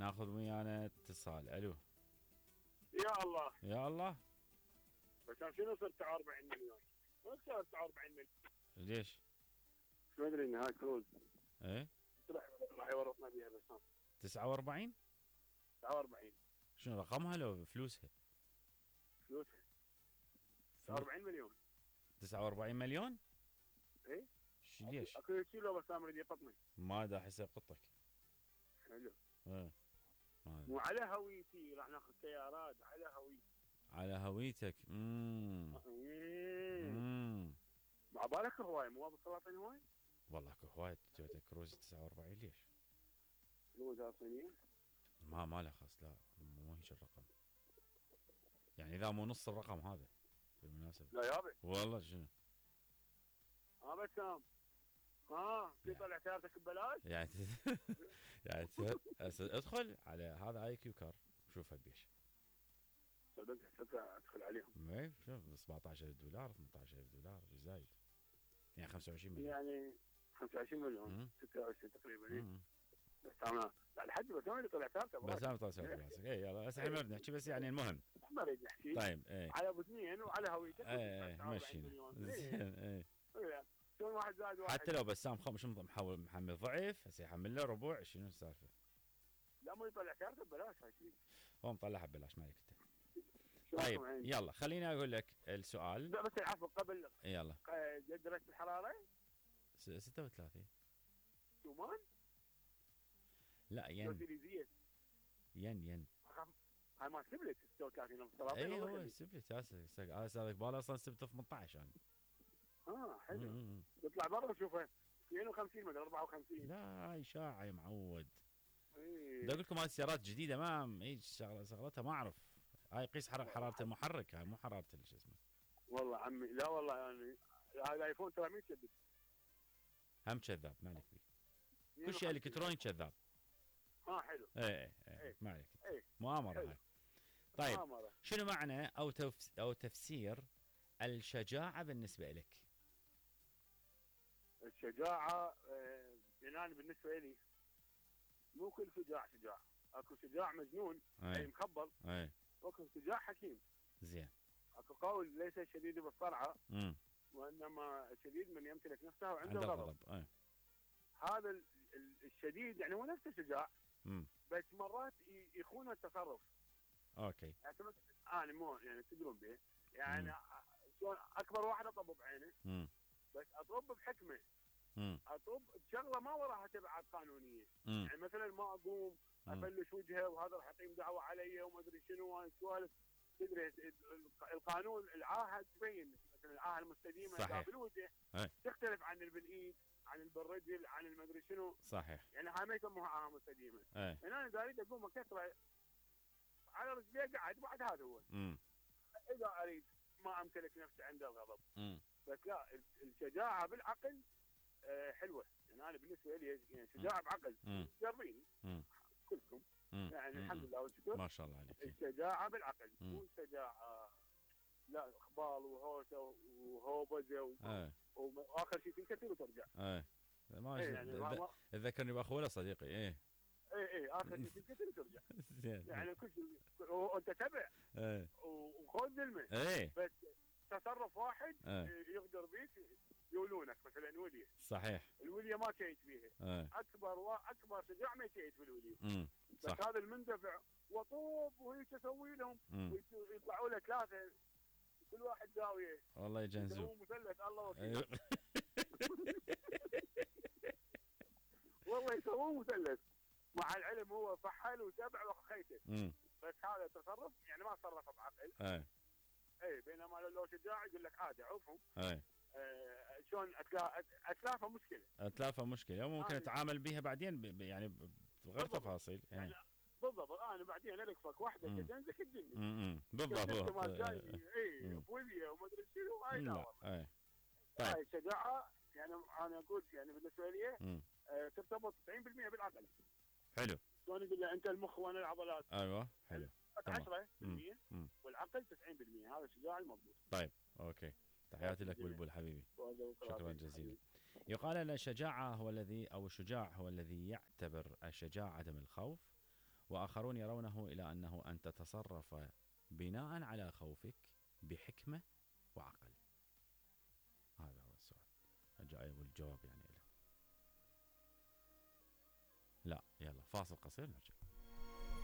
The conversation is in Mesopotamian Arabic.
ناخذ ويانا اتصال. الو. يا الله يا الله. بس شنو صرت 40 مليون؟ ما صرت 40 مليون. ليش؟ شو ادري ان هاي كروز ايه راح يورطنا بيها بس 49. 49 شنو رقمها لو فلوسها؟ فلوسها 40 مليون. 49 مليون؟ ايه ليش؟ اكو كيلو بس اريد يقطني. ما دا احس يقطك. حلو. ايه مو على هويتي راح ناخذ سيارات على هويتي. على هويتك. مع بالك هواي مو ابو سلاطين هواي؟ والله اكو هواي تويوتا كروز 49. ليش؟ كروز صينية؟ ما له خاص. لا مو هيك الرقم. يعني اذا مو نص الرقم هذا بالمناسبة. لا يابا والله. شنو؟ بسام في طلع سيارتك ببلاش؟ يعني يعني ادخل على هذا اي كيو كار شوفها بيش. صدق ادخل عليهم. اي شوف $17,000 $18,000 زايد. يعني 25 مليون. يعني 25 مليون 26 تقريبا. بس انا لحد بسام اللي طلع سيارته. بسام طلع سيارته. اي يلا هسه احنا ما نحكي بس يعني المهم. ما نريد نحكي. طيب اي على ابو اثنين وعلى هويتك. اي مشينا. زين اي. شلون واحد زائد واحد. حتى لو بسام شو محمل ضعف هسه يحمل له ربع. شنو السالفه؟ لا مو يطلع سيارته ببلاش هاي شيء. هو مطلعها ببلاش مالك انت. طيب يلا خليني اقول لك السؤال. بس العفو قبل. يلا. درجة الحرارة 36. شومان؟ لا ين هاي ما سبلت 36. اي هو سبلت هسه صار باله اصلا سبت 18 يعني. حلو. يطلع برا وشوفه 52 مدري 54. لا هاي اشاعه يا معود. بدي اقول لكم هاي السيارات جديده ما هيك شغلتها ما اعرف. هاي قيس حراره المحرك. هاي مو حراره شو اسمه. والله عمي لا والله يعني هاي الايفون ترى 100 كذب. هم كذاب مالك بيه. كل شيء الكتروني كذاب. حلو. ايه ما عليك. مؤامره هاي. طيب مؤامرة. شنو معنى او تفسير الشجاعه بالنسبه لك؟ الشجاعه يعني بالنسبه لي مو كل شجاع. اكو شجاع مجنون اي مخبل. واكو شجاع حكيم. زين. اكو قول ليس الشديد بالصرعه وانما الشديد من يمتلك نفسه وعنده غضب. هذا الشديد يعني هو نفس الشجاع. بس مرات يخون التصرف. اوكي. يعني انا مو يعني تدرون به يعني شلون اكبر واحد اطب بعينه. بس اطب بحكمه. اطب بشغله ما وراها تبعات قانونيه. يعني مثلا ما اقوم افلش وجهه وهذا راح يقيم دعوه علي وما ادري شنو هاي السوالف. تدري القانون العاهه تبين مثلا العاهه المستديمه اذا بالوجه تختلف عن بالايد عن بالرجل عن المدري شنو. صحيح. يعني هاي ما يسموها عاهه مستديمه. يعني انا اذا اريد اقوم اكسره على رجلي قاعد بعد هذا هو. اذا اريد ما امتلك نفسي عند الغضب. بس لا الشجاعه بالعقل حلوه. يعني انا بالنسبه لي يعني شجاعه بعقل. جربيني كلكم. يعني الحمد لله والشكر. ما شاء الله عليك. الشجاعه بالعقل مو الشجاعه لا اخبال وهوسه وهوبزه واخر شيء تنكسر وترجع. ما يعني ذكرني باخوه صديقي. ايه اخر شيء تنكسر وترجع. يعني كل شيء وانت تبع وخذ ذلمه. بس تصرف واحد يقدر بيك يولونك مثلا وليه. صحيح. الوليه ما تشيت بيها. اكبر شجاع ما يشيت بالوليه. بس هذا المندفع وطوب وهيك اسوي لهم ويطلعوا له ثلاثه كل واحد زاويه. والله يجنزوا. هو مثلث الله وكيل. والله يسوون مثلث. مع العلم هو فحل وتبع وخيته. بس هذا تصرف يعني ما تصرف بعقل. بينما لو شجاع يقول لك عادي عوفهم. شلون اتلافه مشكله ممكن اتعامل بها بعدين يعني بغير تفاصيل. يعني بالضبط انا بعدين القفك واحده تجنزك الدنيا. بالضبط. بوليه وما ادري شنو هاي لا والله. طيب هاي الشجاعه يعني انا اقول يعني بالنسبه لي ترتبط 90% بالعقل. حلو. شلون يقول له انت المخ وانا العضلات. ايوه حلو. 10% والعقل 90%. هذا الشجاع المضبوط. طيب اوكي. تحياتي لك بلبل حبيبي. شكرا جزيلا. يقال ان الشجاع هو الذي يعتبر الشجاع عدم الخوف وآخرون يرونه إلى أنه أن تتصرف بناء على خوفك بحكمة وعقل. هذا هو السؤال الجاي والجواب يعني له. لا يلا فاصل قصير نرجع.